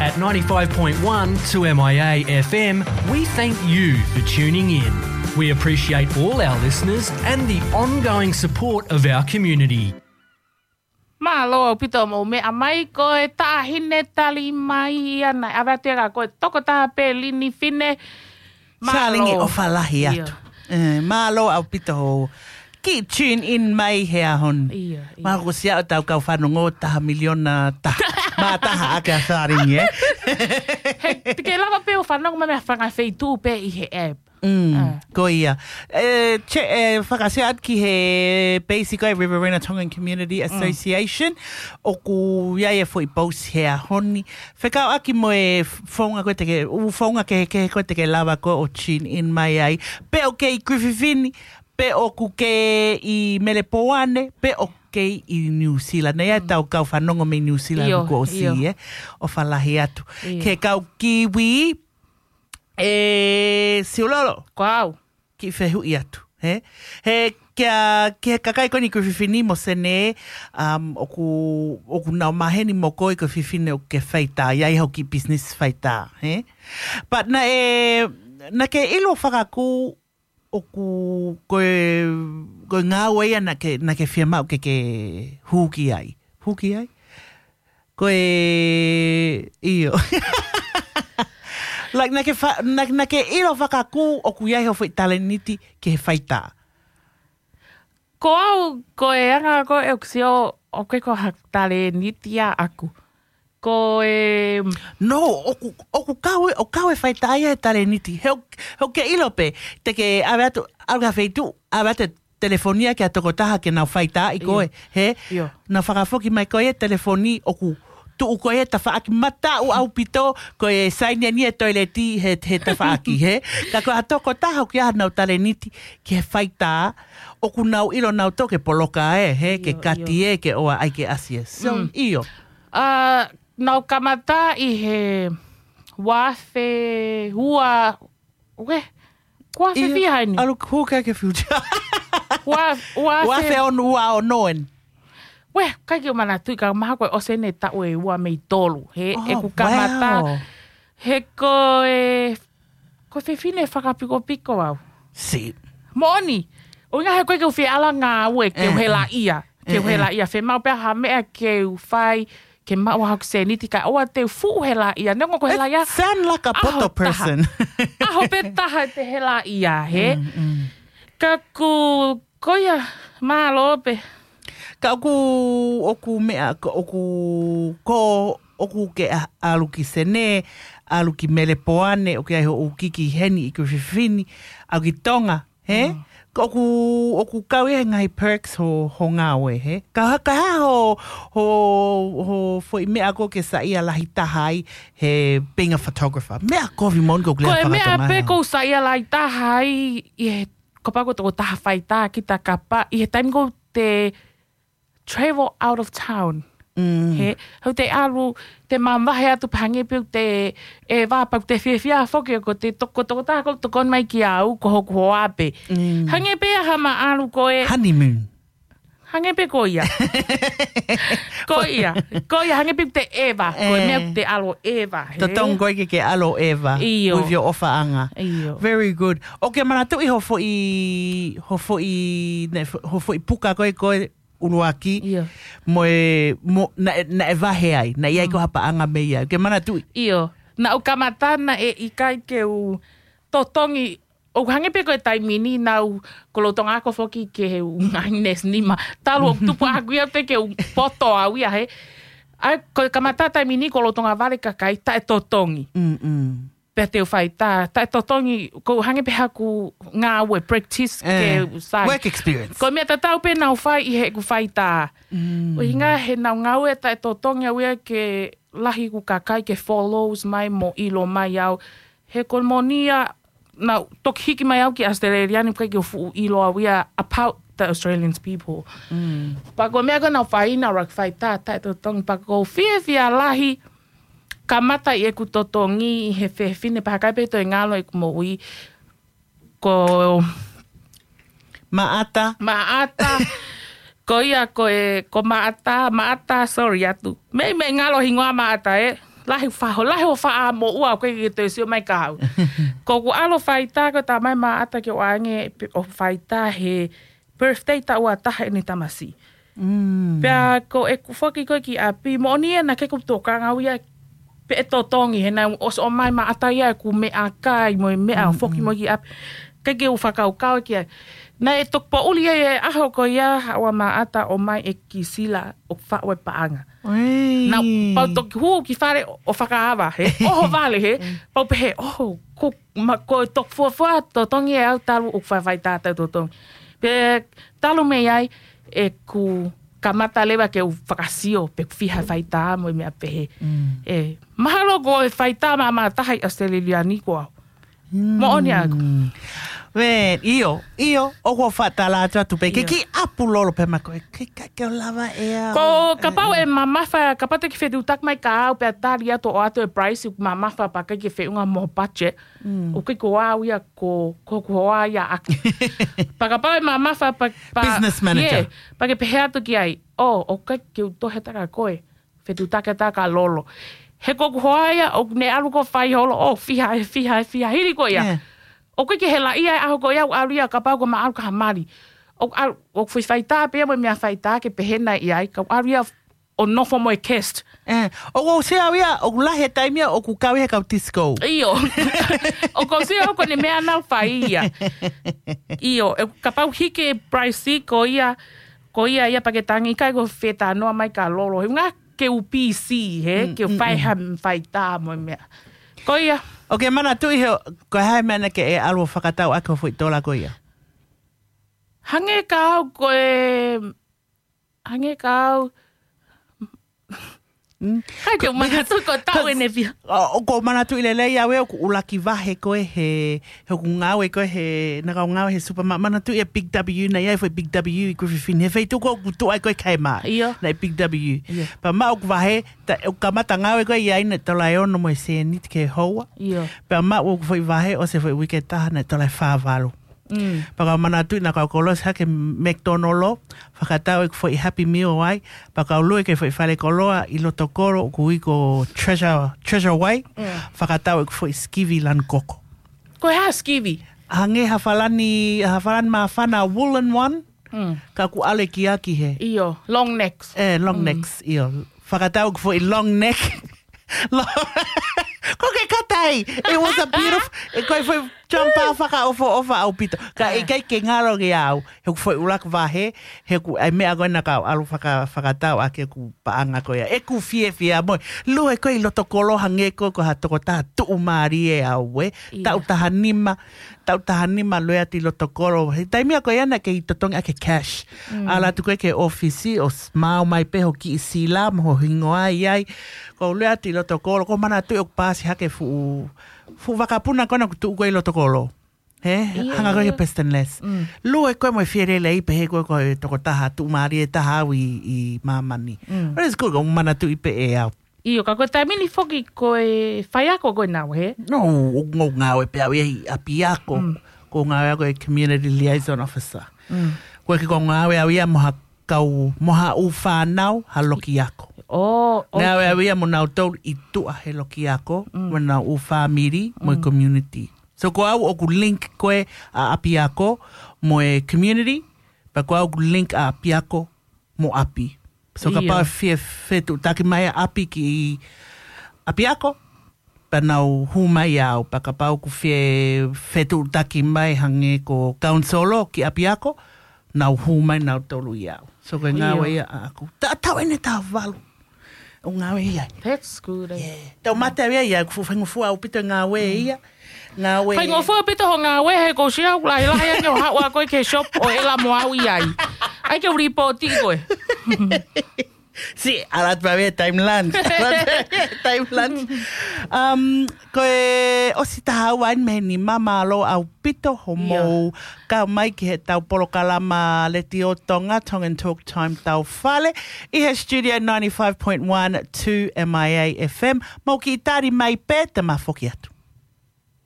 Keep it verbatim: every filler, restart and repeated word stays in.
At ninety-five point one two M I A F M, we thank you for tuning in. We appreciate all our listeners and the ongoing support of our community. Mālō ʻaupito mou meʻa mai, ko e taʻahine tali mai ia naʻe ʻave atu ia kia koe, tokotaha pē Lini Fine. Mālō. Salingi, ʻofa lahi atu. Mālō ʻaupito hoʻo kiʻi tune in mai he ʻaho ni. Mālō, ko siʻa ʻetau kau fanongo taha miliona taha. Mā taha ake ʻa Salingi, ē? He te ke lava pē ʻo fanongo mai mei ha fanga feituʻu pē ʻi he app. Ko ia. E, che, e, fakaʻosi atu ki he peisi ko e Riverina Tongan Community Association. ʻOku ʻi ai e foʻi post he ʻaho ni fekauʻaki mo e founga ko ē te ke, ʻū founga kehekehe ko ē te ke lava ko ē ʻo tune in mai ai. Pe ʻoku ke ʻi Kuififini, pe ʻoku ke ʻi Melepoane, pe ʻoku ke ʻi New Zealand. Naʻe ʻi ai ʻetau kau fanongo mei New Zealand kuo ʻosi, ē? ʻOfa lahi atu. Ke kau kiwi, e Siulolo. Ko au. Kiʻi fehuʻi atu, hē? He kia, ki he kakai ko eni Kuififini mo Senē, ʻoku, ʻoku nau maheni mo koe ko e fefine ʻoku ke faitā, ʻi ai hoʻo kiʻi business faitā, hē? But naʻe, naʻa ke ʻilo fakakū ʻoku, ko e, ko e ngāue ia naʻa ke, naʻa ke fiemaʻu ke ke hū ki ai. Hū ki ai? Ko e, ʻio. Like, naʻa ke fa-, naʻa, naʻa ke ʻilo fakakū ʻoku ʻi ai hoʻo foʻi talēniti ki he faitā. Ko au, ko e anga ko ē ʻeku sio, ʻoku ʻikai ko ha talēniti ia ʻaʻaku. Ko e No, ʻoku, ʻoku kau e, ʻoku kau e faitā ia he talēniti. He ʻoku, he ʻoku ke ʻilo pē, te ke ʻave atu, ʻalu ki ha feituʻu, ʻave atu e telefoni ia ki ha tokotaha ke nau faitaaʻi koe, hē? Nau fakafoki mai ko ē e telefoni ʻoku tuʻu ko ē he tafaʻaki, mataʻu ʻaupito, ko e saini eni e toileti he, he tafaʻaki, hē? Ka ko ha tokotaha ʻoku ʻi ai haʻanau talēniti ki he faitā, ʻoku nau ʻilo nautolu ke poloka, ē, hē, ke kati, ē, ke ʻoua ʻai ke ʻasi, ē. So, ʻio. ʻA, naʻa ku kamata ʻi he ua afe ua, ue, ko ua afe fiha eni. ʻAlu hū ki he future. Ua, ua afe. Ua afe ono, ua ono eni. Ue, ʻikai ke u manatuʻi ka mahalo ko e ʻosi eni e taʻu ʻe ua mei tolu. He, ʻeku kamata. He ko e, ko e fefine fakapikopiko au. Moʻoni, ʻuhinga he ʻoku ʻikai ke u fie ʻalu ʻo ngāue ke u helaʻia. Ke u helaʻia, fiemaʻu pē ha meʻa ke u fai, ke maʻu haʻaku sēniti kae ʻoua te u fuʻu helaʻia. Neongo ko e helaʻia. It sound like a poto person. ʻAho pē taha te helaʻia, hē? Ka ʻoku, ko ia, mālō pē. Ka ʻoku, ʻoku meʻa, ka ʻoku, ko, ʻoku ke ʻa-, ʻalu ki Senē, ʻalu ki Melepoane, ʻoku ʻi ai hoʻo ʻū kiki heni ʻi Kuififini, ʻalu ki Tonga, hē? Ka ʻoku, ʻoku kau ia he ngaahi perks hoʻo, hoʻo ngāue, hē? Ka, ka hā hoʻo, hoʻo, hoʻo foʻi meʻa ʻoku ke saiʻia lahi taha ai he being a photographer? Meʻa kovi moʻoni ʻoku ke lea faka-Tonga ai. Ko e meʻa pē ʻoku ou saiʻia lahi taha ai, ʻi he, kapau ko e tokotaha faitā kita kapa, ʻi he taimi ʻoku te travel out of town. Hē, ʻoku te ʻalu, te mavahe atu pē hangē pē ʻoku te, ʻeva pea ʻoku te fiefia foki ko e toko, tokotaha ʻoku tokoni mai kia au, ko hoku hoa pē. Hangē pē ia ha meʻa ʻalu ko e honeymoon. Hangē pē ko ia. Ko ia, ko ia, hangē pē ʻoku te ʻeva, ko e meʻa ʻoku te ʻalu ʻeva, hē? Totonu koe ke ke ʻalu ʻeva. ʻIo. With your ʻofaʻanga. ʻIo. Very good. ʻOku ke manatuʻi hoʻo foʻi, hoʻo foʻi, ne, hoʻo foʻi puka ko ē, ko e ʻuluaki. ʻIo. Mo e, mo, naʻe, naʻe vahe ai, naʻe ʻi ai ko ha paʻanga mei ai. ʻOku ke manatuʻi? ʻIo. Naʻa ku kamata naʻe ʻikai ke u totongi, ʻoku hangē pē ko e taimi ni naʻa ku lolotonga ako foki ke u ngaahi nesi nima. Talu ʻoku tupu ʻaʻaku ia te ke u poto au ia, hē. ʻA ia ko e kamata taimi ni ʻoku lolotonga vale kakai taʻe totongi. Pea te u faitā, taʻe totongi, ʻoku hangē pē haʻaku ngāue practice ke u sai. Work experience. Ko e meʻa tatau pē naʻa ku fai ʻi heʻeku faitā. ʻUhinga he naʻa ku ngāue taʻe totongi au ia ke lahi ʻeku kakai ke follows mai mo ʻilo mai au. He ko e moʻoni ia naʻa ku toki hiki mai au ki Australia ni ʻikai ke u fuʻu ʻilo au ia about the Australians people. Pea ko e meʻa ko ē naʻa ku fai naʻa ku faitā, taʻe totongi pea ʻoku ou fiefia lahi kamata ʻi heʻeku totongi ʻi he fefine pea ʻikai pē toe ngalo ʻeku moʻui ko Maʻata. Maʻata. Ko ia ko e, ko Maʻata, Maʻata, sorry atu. Meimei ngalo hingoa Maʻata, ē. lahi faho, lahi ʻo faʻa moʻua ʻoku ʻikai ke toe sio mai kia au. Ko ʻeku ʻalu ʻo faitā ko e talamai ʻe Maʻata ke u ʻange pe-, ʻo faitā he birthday taʻu ua taha ʻene tamasiʻi. Mm. Pea ko ʻeku foki ko ē ki ʻapi, moʻoni ia naʻe ʻikai ke u tokanga au ia pe ʻe totongi, he naʻe ʻosi ʻomai ʻe Maʻata ia ʻeku meʻakai mo e meʻa ʻo foki mo ia ki ʻapi. ʻIkai ke u fakakaukau ki ai. Naʻe toki poʻuli ia ʻi he ʻaho ko ia, haʻu ʻa Maʻata ʻo ʻomai ʻe Kisila ʻo faʻu e paʻanga. Oi. Naʻa ku pau toki hū ki fale ʻo fakaava, he ʻoho vale, he pau pehē, ʻoho, ko, ma, ko e toki fuofua totongi ʻe au talu ʻeku faʻa faitā taʻu totongi. Pea talu mei ai, ʻeku kamata leva ke u fakasio pe ʻoku fiha e faitā mo e meʻa pehē. Mm. ʻE, mahalo ko e faitā māmā taha ʻi ʻAositelēlia ni ko au. Mm. Moʻoni ʻaʻaku. Man, ʻio, ʻio, ʻoku ou faʻa tala atu atu pē, ke ʻIo. kiʻi ʻapu lolo pē ma ko e, ke, ke, ke u lava ʻe au. Ko, kapau ʻe mamafa, kapau te ke fetuʻutaki mai kia au pea tali atu ʻo ʻoatu e price, ʻoku mamafa pea ʻikai ke feʻunga mo e budget, Mm. ʻoku ʻikai ko au ia ko, ko, ko au ia ʻaʻaku. Pea kapau ʻe mamafa pea, pea, Business manager. ʻIo, pea ke pehē atu ki ai, ʻo, ʻoku ʻikai ke u tohe atu kia koe. Fetuʻutaki atu kia Lolo. He ko ʻeku hoa ia, ʻoku ne ʻalu ʻo fai holo, ʻo fiha, ʻe fiha, ʻe fiha, hili ko ia. Yeah. ʻOku ʻikai ke hela ia e ʻaho ko ia, ʻoku ʻalu ia kapau ko e maʻalu ka ha mali. ʻOku ʻalu, ʻoku fai faitā pē ia mo e meʻa faitā ke pehē nai ʻi ai, ka ʻoku ʻalu ia ʻo nofo mo e guest. Eh, ʻoku ou sio au ia, ʻoku lahi e taimi ia, ʻoku kau ia he kau disco. ʻIo. ʻOku ou sio au ko ʻene meʻa naʻa nau fai ia. ʻIo, ʻe kapau hiki e price ko ia, ko ia ia pea ke tangi ʻikai ko e fetalanoaʻi mai kia Lolo. He ʻuhinga ke u busy, he, Mm, ke u mm, fai mm. ha faitā mo e meʻa. Ko ia. ʻOku ke manatuʻi he, ko e hā e meʻa naʻa ke ʻalu ʻo fakatau ʻaki hoʻo foʻi tola ko ia? Hangē kia au ko e, hangē kia au. Mm. ʻIkai ke u manatuʻi ko e taʻu ʻene fiha. ʻO, ʻoku ou manatuʻi lelei au ʻeku ʻuluaki vahe ko ē he, he ʻoku ngāue ko ē he, naʻa ku ngāue he supermarket, manatuʻi e Big W naʻe ʻi ai e foʻi Big W ʻi Griffith Fini. He feituʻu ko ē ʻoku tuʻu ai ko ē Kmart. ʻIo. Naʻe Big W. ʻIo. Pea maʻu ʻeku vahe, ta, ʻeku kamata ngāue ko ē ʻi ai naʻe tola ʻe ono mo e sēniti ki he houa. ʻIo. Pea maʻu ʻeku foʻi vahe, ʻosi e foʻi uike ʻe taha naʻe tola ʻe fā valu. Mm. Pea ka u manatuʻi naʻa ku kolosi hake McDonald, fakatau ʻeku foʻi Happy Meal ai, pea ka u lue ki he foʻi fale koloa ʻi loto kolo, ʻoku ui ko Treasure, Treasure Way, Mm. fakatau ʻeku foʻi sikivi lanu koko. Ko e hā sikivi? Hangē ha falani, ha falani māfana woolen one, Mm. ka ʻoku ʻalekiaki he. ʻIo, long necks. Eh, long Mm. necks, ʻio. Fakatau ʻeku foʻi long neck. Lo-, ko ke katai. It was a beautiful, e ko e foʻi jumper fakaʻofoʻofa ʻaupito. Ka Ah. ʻikai ke ngalo kia au. He ʻoku foʻi ʻuluaki vahe, he ʻoku ʻi ai e meʻa ko ē naʻa ku ʻalu faka-, fakatau ʻaki ʻeku paʻanga ko ia. ʻEku fiefia mo e lue ko ē ʻi loto kolo hangē ko ē ko ha tokotaha tuʻumālie au ē. ʻIo. Taʻu taha nima, taʻu taha nima lue atu ʻi loto kolo. He taimi ko ia naʻe ʻikai totongi ʻaki e cash. Mm. ʻAlu atu ko ē ki he ʻōfisi ʻo s-, maʻu mai pē hoʻo kiʻi sila mo ho hingoa ʻi ai. Ko u lue atu ʻi loto kolo, ko u manatuʻi ʻoku paasi hake fuʻu, fuʻu vakapuna ko ena ʻoku tuʻu ko ē ʻi loto kolo. He, ʻIo, hanga ko ē ʻio. ki he Piston Less. Mm. Lue ko ē mo e fielelei pehē ko ē ko e tokotaha tuʻumālie taha au ʻi, ʻi māmani. Mm. But it's good, ko u manatuʻi pē ʻe au. ʻIo, ka ko e taimi ni foki ko e faiako ko ē naʻa ku, he? No, ʻoku ou ngāue pē au ia ʻi ʻapiako. Mm. ʻOku ou ngāue au ko e community liaison officer. Mm. Ko e ki ko u ngāue au ia mo ha kau, mo ha ʻū fānau, ha loki ako. Oh, Ngāue okay. au ia mo nautolu ʻi tuʻa he loki ako, Mm. mo nau ʻū fāmili, mo e Mm. community. So ko au ʻoku link ko ē ʻa ʻapiako mo e community, pea ko au ʻoku link ʻa ʻapiako mo ʻapi. So ʻIo. kapau ʻe fie fetuʻutaki mai ʻa ʻapi ki ʻapiako, pea nau hū mai au, pea kapau ʻoku fie fetuʻutaki mai hangē ko council ki ʻapiako, nau hū mai nautolu ʻia au. So ko e ʻIo. ngāue ia ʻaʻaku. Ta, taʻu ʻeni ʻe taha valu. ʻOku ngāue ʻi ai. That's good, eh. Yeah. Taʻu mate au ia, ʻoku fuʻu faingofua ʻaupito e ngāue Mm. ia. Ngāue. Faingofua ʻaupito hoʻo ngāue he ʻoku ou sio au lahilahi ange ʻo haʻu ʻa koe ki he shop ʻo ʻela mo au ʻi ai. ʻAi ke u lipooti koe. Si, ʻalu atu pē au ia time lunch. Time lunch. Um, ko e ʻosi taha ua ʻeni mei heni, mālō ʻaupito hoʻomou ʻIo. kau mai ki heʻetau polokalama Letiō Tonga, Tongan Talk Time Taufale, ʻi he studio ninety-five point one two M I A F M. Mou kiʻi tali mai pē te ma foki atu.